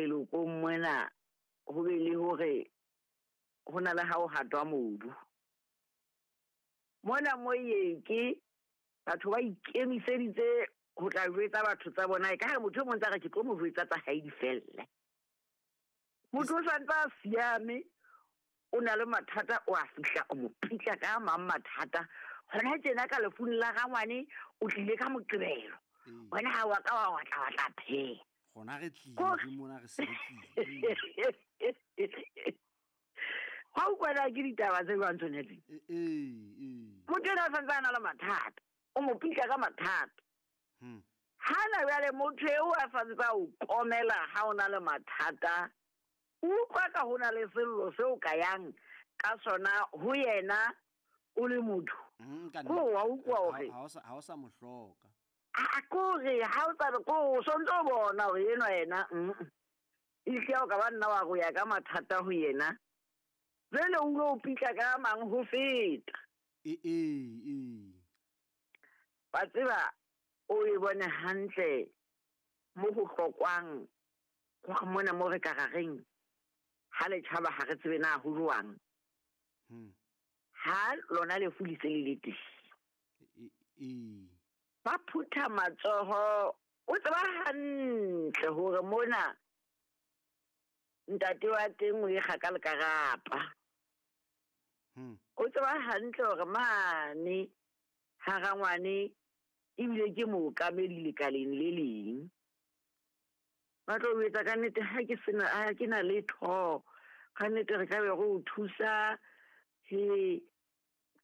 Lelokong mona ho be le hore ho na le ha o hatwa mobu. Mona mo yeke batho ba ikemiseditse ho tla jwetsa batho tsa bona e ka re motho e mong tsa re ke tlo mo jwetsa tsa hae di felle. Motho o santse a siame, o na le mathata, o a fihla o mo pitla ka a mang mathata. Hona tjena ka lefung la rangwane o tlile ka Moqebelo. Wena ha wa ka wa watla wa tla pheha. Gona re tlile mona re se re tlile. Ga o kwana ke ditaba tse jwang tsone tse? Ee. Motho ena o santse a na le mathata, o mo pitla ka mathata. Hana jwale motho eo a santse a o komela ha o na le mathata, o utlwa ka ho na le sello seo ka yang ka sona ho yena o le motho. Ko wa utlwa hore ha o sa mo hloka. A kore ha o tsa ko o sontse o bona hore enwa yena ehlile o ka ba nna wa go ya ka mathata ho yena. Jwale o lo pitla ka mang ho feta. Ee. Wa tseba o e bone hantle mo ho hlokwang hore mona mo re ka ra reng ha le tjhaba ha re tsebe na ho jwang. Ha lona lefu le se le le teng. Ee. Ba phutha matsoho, o tseba hantle hore mona ntate wa teng o ekga ka lekarapa. O tseba hantle hore mane ha rangwane ebile ke mookamedi lekaleng le leng. Ba tlo o etsa ka nnete ha ke sena, ha ke na letho. Ka nnete re ka be re o thusa. He,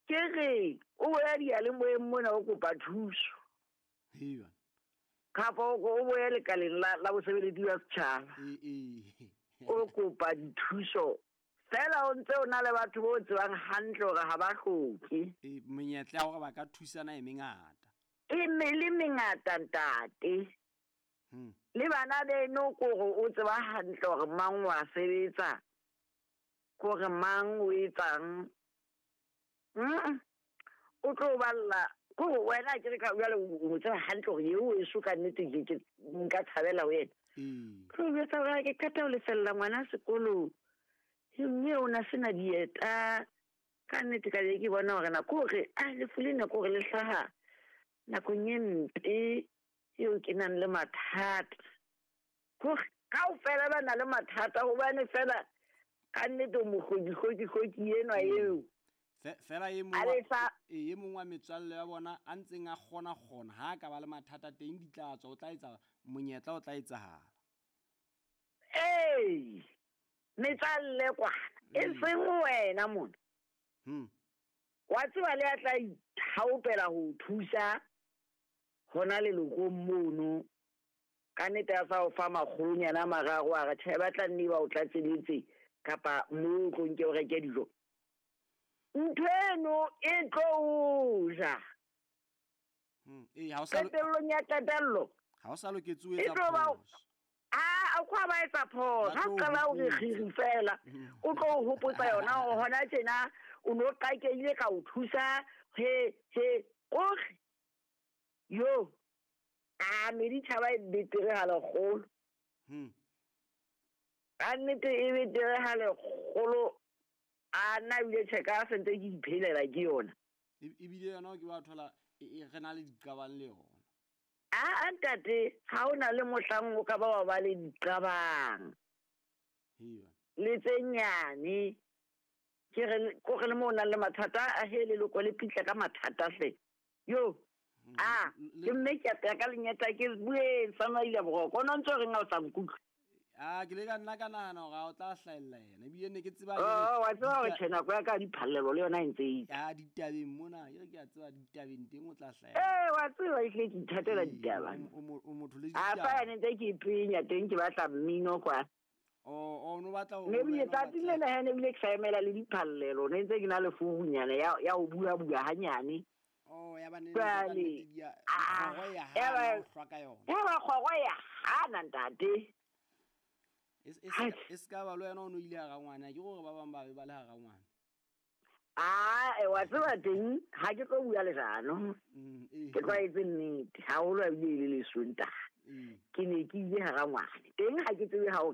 ke re o boya diyalemoyeng mona o kopa thuso. Hee. Kapa o boya lekaleng la bosebeletsi ba setjhaba. Ee. O kopa dithuso. Fela o ntse o na le batho bo tsebang hantle hore ha ba hloke. Ee, menyetla ya hore ba ka thusana e mengata. E le mengata ntate. Le bana beno kore o tseba hantle hore mang wa sebetsa, kore mang o etsang. O tlo balla kore wena ke re ka jwale o tseba hantle hore eo eso ka nnete ke nka tshabela ho yena. Tlo jwetsa hore ke qeta ho lefella ngwana sekolo. Mme o na sena dieta. Ka nnete ka be ke bona hore nako hore a lefu lena kore le hlaha nakong e mpe eo ke nang le mathata. Kore kaofela ba na le mathata hobane fela ka nnete o mohloki-hloki-hloki enwa eo. Fela e mong wa metswalle ya bona a ntseng a kgona-kgona ha ka ba le mathata teng di tla tswa, o tla etsa monyetla o tla etsahala. Ee, metswalle kwana e seng wena mona. Wa tseba le a tla ithaopela ho thusa hona lelokong mono. Ka nnete a sa o fa makgolonyana a mararo a re tjhe, ba tla nne ba o tlatseletse kapa moo o tlo nke o reke dijo. Ntho eno e tlo o ja. Ee, ha o sa Qetellong ya qetello. Ha o sa loketse ho etsa E tlo ba phoso. A, o kwa ba etsa phoso. Ba Ha tlo qala o re hopotsa. kgiri fela. O tlo o hopotsa yona hore hona tjena o no qakehile ka o thusa. He, he, kore. Yo. A, meditjhaba e betere ha lekgolo. Ka nnete e betere ha lekgolo. A nna ebile tjhe ka sentse ke iphelela ke yona. Ebile yona ke ba thola re na le diqabang le yona. A, ntate, ha o na le mohlang o ka ba wa ba le diqabang. Hee. Le tse nyane. Ke re, ko re le moo o nang le mathata, a he leloko le pitla ka mathata hle. Yo. A, ke mme ke apeya ka lenyata ke bueng sa maila boroko. O no ntso reng ha o sa nkutlwe? A, ke le ka nna ka nahana hore ha o tla hlahella yena. Ebile ne ke tseba Oh, wa tseba hore tjhe nako ya ka diphallelo le yona e ntse e itse. Ya, ditabeng mona, ke re ke a tseba ditabeng teng o tla hlahella. Ee, wa tseba ehlile ke ithatela Ee, ditaba. o motho le A, fa ditaba. yane ntse ke ipenya teng ke batla mmino kwa. Oh, no batla ho Ne ebile wena o tsatsi batla- lena he ne ebile ke sa emela le diphallelo, ne ntse ke na le furunyana ya ho bua-bua hanyane. Oh, ya ba ne Jwale, ka nnete di a- ah, kgoro ya ya ba- hana ho hlwa ka yona. Ya ba kgoro ya hana, ntate. E se ka ba le wena o no ile hara ngwana, ke hore ba bang ba be ba le hara ngwana. Ah, wa tseba teng, ha ke tlo bua leshano. Ke tlwaetse nnete, haholo ha ebile e le Lesontaha. Ke ne ke ile hara ngwana. Teng ha ke tsebe ha o